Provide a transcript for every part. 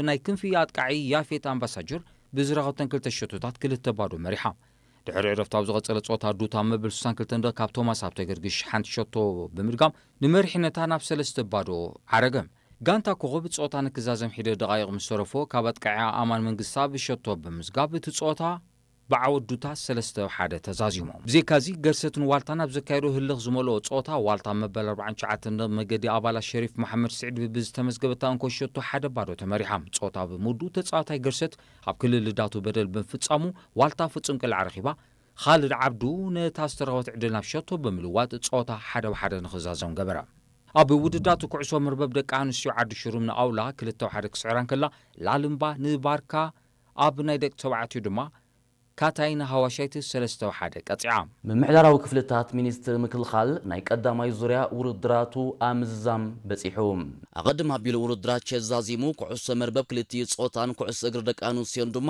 ናይ ክንፊ ኣጥቃዒ ያፌት ኣምባሳጀር ብዝረኸብተን ክልተ ሸቶታት ክልተ ባዶ መሪሓ። ድሕሪ ዕረፍቲ ኣብ ዝቐጸለ ጸወታ ዱታ መበል ስሳን ክልተን ደቂቕ ካብ ቶማስ ሃብተገርግሽ ሓንቲ ሸቶ ብምድጋም ንመሪሕነታ ናብ ሰለስተ ባዶ ዓረገ። ጋንታ ኮኸብ ጸወታ ንክዛዘም ሒደ ደቓይቕ ምስ ተረፎ ካብ ኣጥቃዒ ኣማን መንግስታ ብሸቶ ብምዝጋብ እቲ ጸወታ ብዓወት ዱታ ሰለስተ ሓደ ተዛዚሞም። ብዘይካዚ ገርሰትን ዋልታን ኣብ ዘካየዶ ህልኽ ዝመልኦ ጸወታ ዋልታ መበል ኣርባዓን ትሽዓተን መገዲ ኣባላት ሸሪፍ መሓመድ ስዒድ ብዝተመዝገበታ እንኮ ሸቶ ሓደ ባዶ ተመሪሓ። ጸወታ ብምውዱ ተጻዋታይ ገርሰት ኣብ ክልል ልዳቱ በደል ብምፍጻሙ ዋልታ ፍጹም ቅልዓ ረኺባ። ኻልድ ዓብዱ ነታ ዝተረኸበት ዕድል ናብ ሸቶ ብምልዋጥ ጸወታ ሓደ ብሓደ ንኽዛዘም ገበረ። ኣብ ውድዳቱ ኩዕሶ መርበብ ደቂ ኣንስትዮ ዓዲ ሽሩም ንኣውላ ክልተ ሓደ ክስዕራ እንከላ ላልምባ ንባርካ ኣብ ናይ ደቂ ተባዕትዮ ድማ ካታይና ሃዋሻይት ሰለስተ ሓደ ቀጺዓ። ምምሕዳራዊ ክፍልታት ሚኒስትሪ ምክልኻል ናይ ቀዳማይ ዙርያ ውድድራቱ ኣብ ምዝዛም በጺሑ። ኣቐድም ኣቢሉ ውድድራት ቸስ ዛዚሙ ኩዕሶ መርበብ ክልቲኡ ጾታን ኩዕሶ እግሪ ደቂ ኣንስትዮን ድማ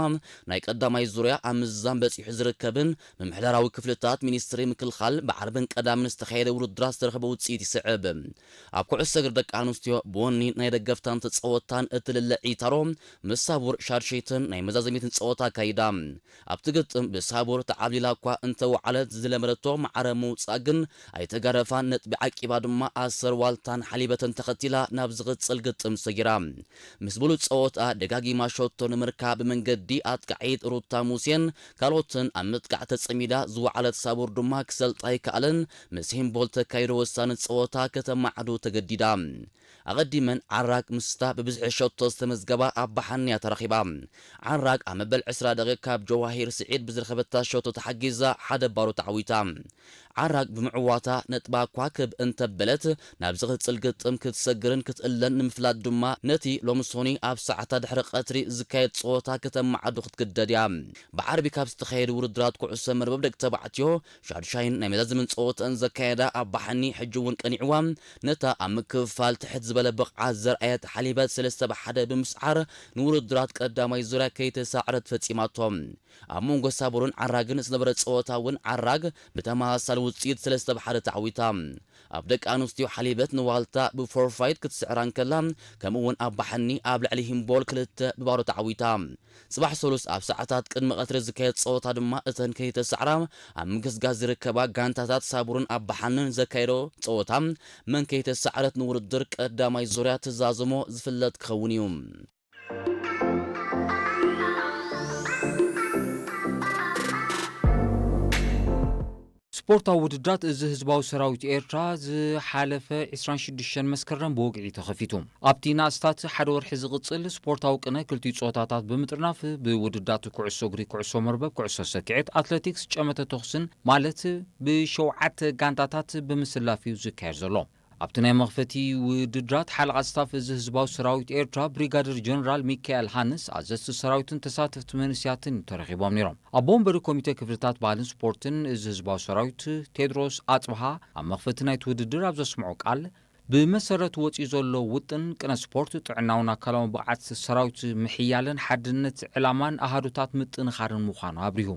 ናይ ቀዳማይ ዙርያ ኣብ ምዝዛም በጺሑ ዝርከብን ምምሕዳራዊ ክፍልታት ሚኒስትሪ ምክልኻል ብዓርብን ቀዳምን ዝተኻየደ ውድድራት ዝተረኸበ ውጽኢት ይስዕብ። ኣብ ኩዕሶ እግሪ ደቂ ኣንስትዮ ብወኒ ናይ ደገፍታን ተጸወትታን እትልለ ዒታሮ ምስ ሳቡር ሻድሸይትን ናይ መዛዘሚትን ጸወታ ኣካይዳ። ኣብቲ ግጥም ብሳቡር ተዓብሊላ እኳ እንተወዓለት ዝለመደቶ ማዕረ ምውጻእ ግን ኣይተጋደፋን። ነጥቢ ዓቂባ ድማ ኣሰር ዋልታን ሓሊበተን ተኸቲላ ናብ ዝቕጽል ግጥም ሰጊራ። ምስ ብሉጽ ጸወታ ደጋጊማ ሸቶ ንምርካብ ብመንገዲ ኣጥቃዒት ሩታ ሙሴን ካልኦትን ኣብ ምጥቃዕ ተጸሚዳ ዝወዓለት ሳቡር ድማ ክሰልጣ ኣይከኣለን። ምስ ሂምቦል ተካይዶ ወሳኒ ጸወታ ከተማዕዱ ተገዲዳ። ኣቐዲመን ዓራግ ምስታ ብብዝሒ ሸቶ ዝተመዝገባ ኣባሓንያ ተረኺባ። ዓራግ ኣብ መበል ዕስራ ደቂቕ ካብ ጀዋሂር ስዒድ ብዝረኸበታ ሸቶ ተሓጊዛ ሓደ ባዶ ተዓዊታ። ዓራግ ብምዕዋታ ነጥባ ኳክብ እንተበለት ናብ ዝቕጽል ግጥም ክትሰግርን ክትእለን ንምፍላጥ ድማ ነቲ ሎምሶኒ ኣብ ሰዓታት ድሕሪ ቀትሪ ዝካየድ ጸወታ ከተማዕዱ ክትግደድ እያ። ብዓርቢ ካብ ዝተኻየዱ ውድድራት ኩዕሶ መርበብ ደቂ ተባዕትዮ ሻድሻይን ናይ መዛዘምን ጸወተን ዘካየዳ ኣባሓኒ ሕጂ እውን ቀኒዕዋ ነታ ኣብ ምክፍፋል ትሕት ዝበለ ብቕዓት ዘርኣየት ሓሊበት ሰለስተ ብሓደ ብምስዓር ንውድድራት ቀዳማይ ዙርያ ከይተሳዕረት ፈጺማቶ። ኣብ መንጎ ሳቡርን ዓራግን ዝነበረ ጸወታ እውን ዓራግ ብተመሳሳሊ ውጽኢት ሰለስተ ብሓደ ተዓዊታ። ኣብ ደቂ ኣንስትዮ ሓሊበት ንዋልታ ብፎርፋይት ክትስዕራ እንከላ ከምኡ እውን ኣባሓኒ ኣብ ልዕሊ ሂምቦል ክልተ ብባዶ ተዓዊታ። ጽባሕ ሰሉስ ኣብ ሰዓታት ቅድሚ ቀትሪ ዝካየድ ጸወታ ድማ እተን ከይተሳዕራ ኣብ ምግስጋስ ዝርከባ ጋንታታት ሳቡርን ኣባሓንን ዘካየዶ ጸወታ መን ከይተሳዕረት ንውድድር ቀዳማይ ዙርያ ትዛዝሞ ዝፍለጥ ክኸውን እዩ። ስፖርታዊ ውድድራት እዚ ህዝባዊ ሰራዊት ኤርትራ ዝሓለፈ ዕስራን ሽዱሽተን መስከረም ብወግዒ ተኸፊቱ። ኣብቲ ንኣስታት ሓደ ወርሒ ዝቕጽል ስፖርታዊ ቅነ ክልቲኡ ጾታታት ብምጥርናፍ ብውድዳት ኩዕሶ እግሪ፣ ኩዕሶ መርበብ፣ ኩዕሶ ሰኪዔት፣ ኣትለቲክስ፣ ጨመተ ተኹስን ማለት ብሸውዓተ ጋንታታት ብምስላፍ እዩ ዝካየድ ዘሎ። ኣብቲ ናይ መኽፈቲ ውድድራት ሓለቓ ስታፍ እዚ ህዝባዊ ሰራዊት ኤርትራ ብሪጋደር ጀነራል ሚካኤል ሃንስ ኣዘዝቲ ሰራዊትን ተሳተፍቲ መንእሰያትን ተረኺቦም ነይሮም። ኣቦ ወንበሪ ኮሚቴ ክፍልታት ባህልን ስፖርትን እዚ ህዝባዊ ሰራዊት ቴድሮስ ኣጽብሃ ኣብ መኽፈቲ ናይቲ ውድድር ኣብ ዘስምዖ ቃል ብመሰረት ወጺኡ ዘሎ ውጥን ቅነ ስፖርት ጥዕናውን ኣካላውን ብቕዓት ሰራዊት ምሕያልን ሓድነት ዕላማን ኣሃዱታት ምጥንኻርን ምዃኑ ኣብሪሁ።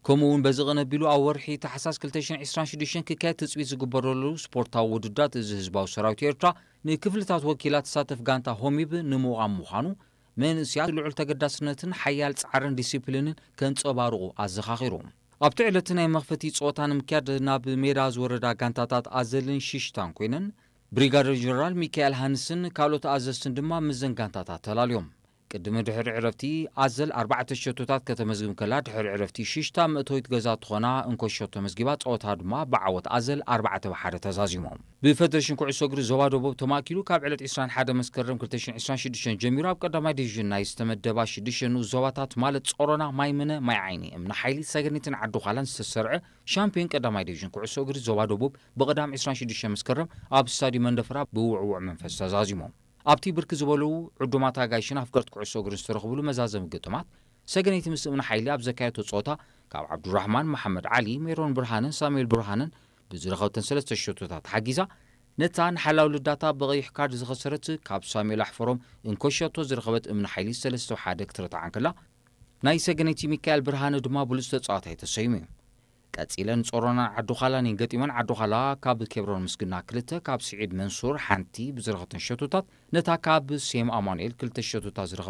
ከምኡ እውን በዚ ቅነ ኣቢሉ ኣብ ወርሒ ታሕሳስ ክልተ ሽሕን ዕስራን ሽዱሽተን ክካየድ ትጽቢት ዝግበረሉ ስፖርታዊ ውድድራት እዚ ህዝባዊ ሰራዊት ኤርትራ ንክፍልታት ወኪላ ትሳተፍ ጋንታ ሆሚብ ንምቋም ምዃኑ መንእስያት ልዑል ተገዳስነትን ሓያል ጻዕርን ዲሲፕሊንን ከንጸባርቑ ኣዘኻኺሩ። ኣብቲ ዕለት ናይ መኽፈቲ ጸወታ ንምክያድ ናብ ሜዳ ዝወረዳ ጋንታታት ኣዘልን ሽሽታን ኮይነን ብሪጋደር ጀነራል ሚካኤል ሃንስን ካልኦት ኣዘዝትን ድማ ምስዘን ጋንታታት ተላልዮም። ቅድሚ ድሕሪ ዕረፍቲ ኣዘል ኣርባዕተ ሸቶታት ከተመዝግብ ከላ ድሕሪ ዕረፍቲ ሽሽታ መእተዊት ገዛ ትኾና እንኮ ሸቶ መዝጊባ ጸወታ ድማ ብዓወት ኣዘል ኣርባዕተ ብሓደ ተዛዚሞም። ብፈደሬሽን ኩዕሶ እግሪ ዞባ ደቡብ ተማእኪሉ ካብ ዕለት ዕስራን ሓደ መስከረም ክልተ ሽሕን ዕስራን ሽዱሽተን ጀሚሩ ኣብ ቀዳማይ ዲቪዥን ናይ ዝተመደባ ሽዱሽተ ንኡስ ዞባታት ማለት ጾሮና፣ ማይምነ፣ ማይ ዓይኒ፣ እምኒ ሓይሊ፣ ሰገኒትን ዓዲ ዃላን ዝተሰርዐ ሻምፒዮን ቀዳማይ ዲቪዥን ኩዕሶ እግሪ ዞባ ደቡብ ብቐዳም ዕስራን ሽዱሽተ መስከረም ኣብ ስታድዩም መንደፈራ ብውዕውዕ መንፈስ ተዛዚሞም። ኣብቲ ብርክት ዝበሉ ዕዱማት ኣጋይሽን ኣፍቀርቲ ኩዕሶ እግርን ዝተረኽብሉ መዛዘሚ ግጥማት ሰገነይቲ ምስ እምኒ ሓይሊ ኣብ ዘካየቶ ጸወታ ካብ ዓብዱራሕማን መሓመድ ዓሊ፣ ሜሮን ብርሃነን ሳሙኤል ብርሃነን ብዝረኸብተን ሰለስተ ሸቶታት ሓጊዛ ነታ ንሓላው ልዳታ ብቐይሕ ካርድ ዝኸሰረት ካብ ሳሙኤል ኣሕፈሮም እንኮ ሸቶ ዝረኸበት እምኒ ሓይሊ ሰለስተ ሓደ ክትረትዓ እንከላ ናይ ሰገነይቲ ሚካኤል ብርሃነ ድማ ብሉጽ ተጻዋታይ ተሰይሙ እዩ። ቀጺለን ጾሮናን ዓዲ ዃላን እየን ገጢመን። ዓዲ ዃላ ካብ ኬብሮን ምስግና ክልተ፣ ካብ ስዒድ መንሱር ሓንቲ ብዝረኸብተን ሸቶታት ነታ ካብ ሴም ኣማኑኤል ክልተ ሸቶታት ዝረኸበት